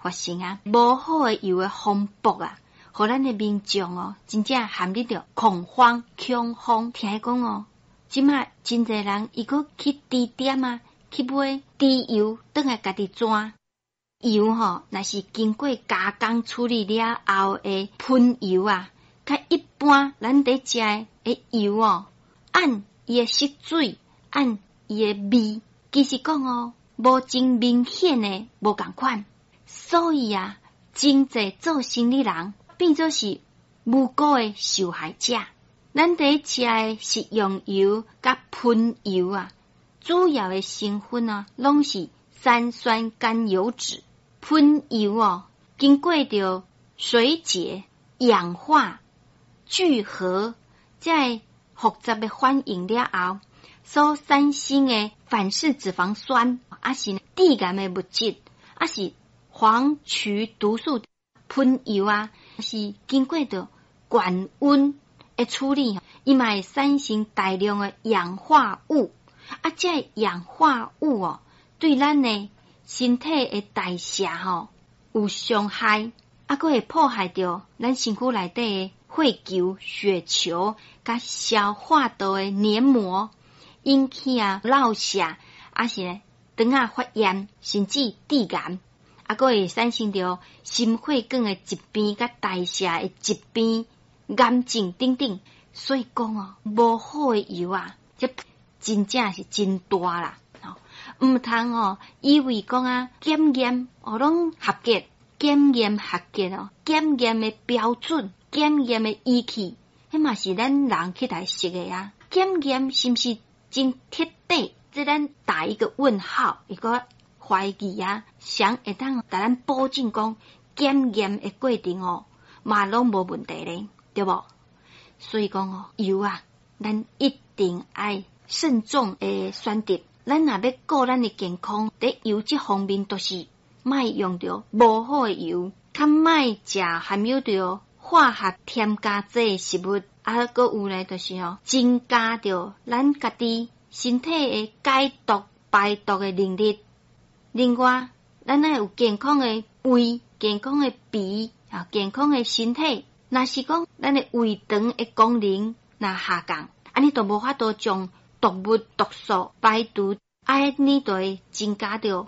發生啊，無好的油的風暴啊，予咱的民眾哦，真正陷入著恐慌、恐慌。聽講哦，這馬真濟人伊閣去豬店啊，去買豬油，轉來家己煎。油吼，若是經過加工處理了後的噴油啊，較一般咱佇食的油哦，按伊的色水，按伊的味，其實講哦，無真明顯的無仝款。所以啊，真濟做生理人變做是無辜的受害者。咱佇食的食用油佮噴油啊，主要的成分啊，攏是三酸甘油酯。噴油哦，經過著水解、氧化、聚合，這个複雜的反應了後，所產生的反式脂肪酸，抑是致癌的物質，抑是黃曲毒素。噴油啊，是經過著高溫的處理，伊嘛會產生大量的氧化物。啊，這个氧化物哦，對咱的身體的代謝吼有傷害，啊，閣會破壞著咱身軀內底的血球、血球，佮消化道的黏膜，引起啊落屑，抑是腸仔發炎，甚至致癌，啊，閣會產生著心血管的疾病、佮代謝的疾病、癌症等等。所以講哦，無好的油啊，這真正是真大啦。毋通哦，以為講啊，檢驗哦攏合格，檢驗合格哦，檢驗的標準、檢驗的儀器，彼嘛是咱人去來設的啊。檢驗是毋是真徹底？這咱打一個問號，一個懷疑啊。誰會當共咱保證講檢驗的過程哦，嘛攏無問題咧，對無？所以講哦，油啊，咱一定愛慎重的選擇。咱若欲顧咱的健康，佇油這方面，就是莫用著無好的油，較莫食含有著化學添加劑的食物，啊，閣有咧，就是吼增加著咱家己身體的解毒排毒的能力。另外，咱愛有健康的胃、健康的脾啊、健康的身體。若是講咱的胃腸的功能若下降，按呢就無法度將毒物毒素排除，按呢就會增加著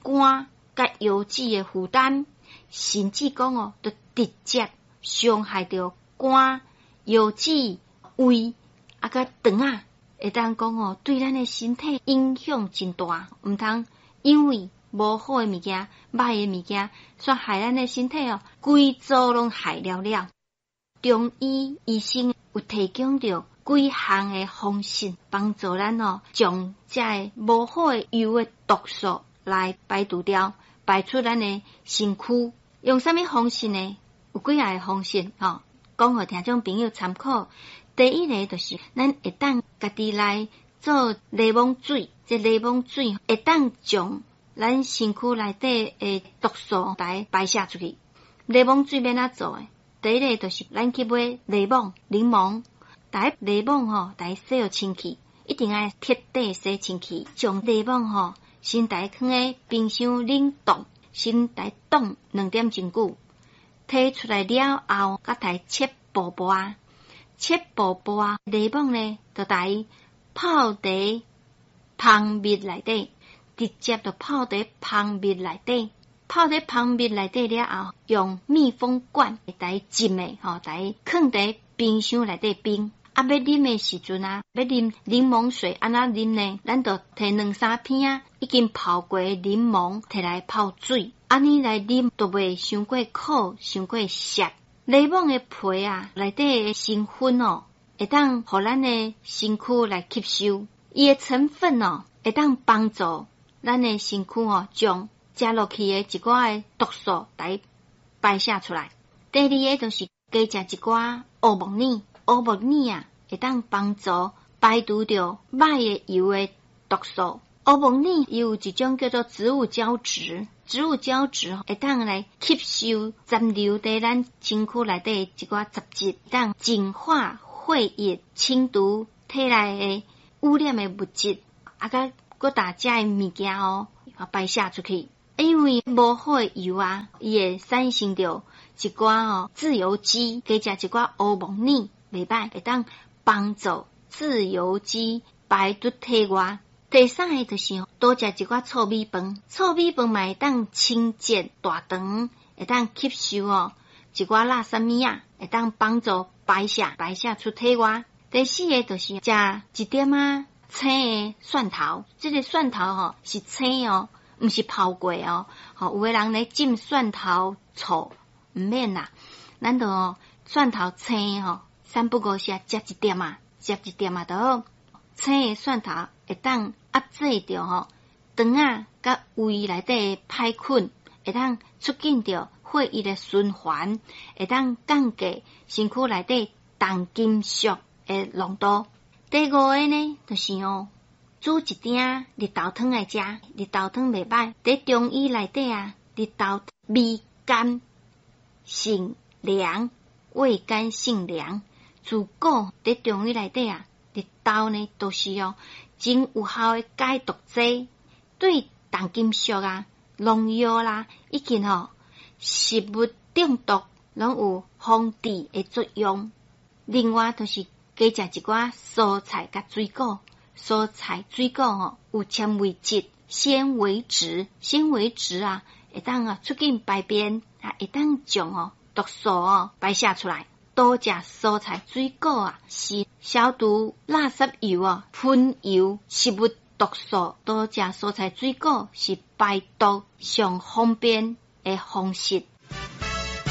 肝佮腰子的負擔，甚至講哦，就直接傷害著肝、腰子、胃啊，佮腸仔，會當講哦，對咱的身體影響真大，毋通因為無好的物件、歹的物件，煞害咱的身體哦，規組攏害了了。中醫醫生有提供著幾項的方式，幫助咱哦，將這个無好的油的毒素來排除掉，排出咱的身軀。用啥物方式呢？有幾仔个方式吼，講予聽眾朋友參考。第一个就是咱會當家己來做檸檬水，這檸檬水會當將咱身軀內底的毒素來排泄出去。檸檬水欲按怎做的？第一个就是咱去買檸檬，檸檬，共檸檬吼，共洗予清氣，一定愛徹底洗清氣。將檸檬吼，先共囥佇冰箱冷凍，先共凍2點鐘久，提出來了後，閣共切薄薄，切薄薄，檸檬呢，就共泡佇蜂蜜內底，直接就泡佇蜂蜜內底。泡佇蜂蜜內底了後，用密封罐共浸的吼，共囥佇冰箱內底冰。啊，欲啉的時陣啊，欲啉檸檬水按怎啉呢？咱就提兩三片仔已經泡過的檸檬，提來泡水，按呢來啉，就袂傷過苦，傷過澀。檸檬的皮啊，內底的成分哦，會當予咱的身軀來吸收，伊的成分哦，會當幫助咱的身軀哦，將食落去的一寡的毒素來排泄出來。第二个就是加食一寡烏木耳，烏木耳啊，會當幫助排除著歹的油的毒素。烏木耳伊有一種叫做植物膠質，植物膠質會當來吸收殘留佇咱身軀內底一寡雜質，當淨化血液、清除體內的污染的物質，啊，佮閣把這个物件哦排泄出去。因為無好的油啊，伊會產生著一寡吼自由基，加食一寡烏木耳，袂䆀，會當幫助自由基排出體外。第三个就是多食一寡糙米飯，糙米飯嘛會當清潔大腸，會當吸收哦一寡垃圾物仔，會當幫助排泄，排泄出體外。第四个就是食一點仔青的蒜頭，這個蒜頭吼是青哦，毋是泡過哦。吼，有的人咧浸蒜頭醋，毋免啦，咱就哦蒜頭青吼，三不五時食一點仔，食一點仔就好。青的蒜頭會當壓制著吼腸仔佮胃內底的歹菌，會當促進著血液的循環，會當降低身軀內底重金屬的濃度。第五个呢，就是哦，煮一鼎綠豆湯來食，綠豆湯袂䆀。佇中醫內底啊，綠豆味甘性涼，味甘性涼。自古佇中醫內底啊，綠豆呢都是哦真有效的解毒劑，對重金屬啊、農藥啦，以及吼食物中毒，攏有防治的作用。另外，就是加食一寡蔬菜佮水果，蔬菜水果吼有纖維質、纖維質、纖維質啊，會當啊促進排便啊，會當將哦毒素哦排泄出來。多食蔬菜水果啊，是消毒垃圾油哦、噴油食物毒素。多食蔬菜水果是排毒上方便的方式。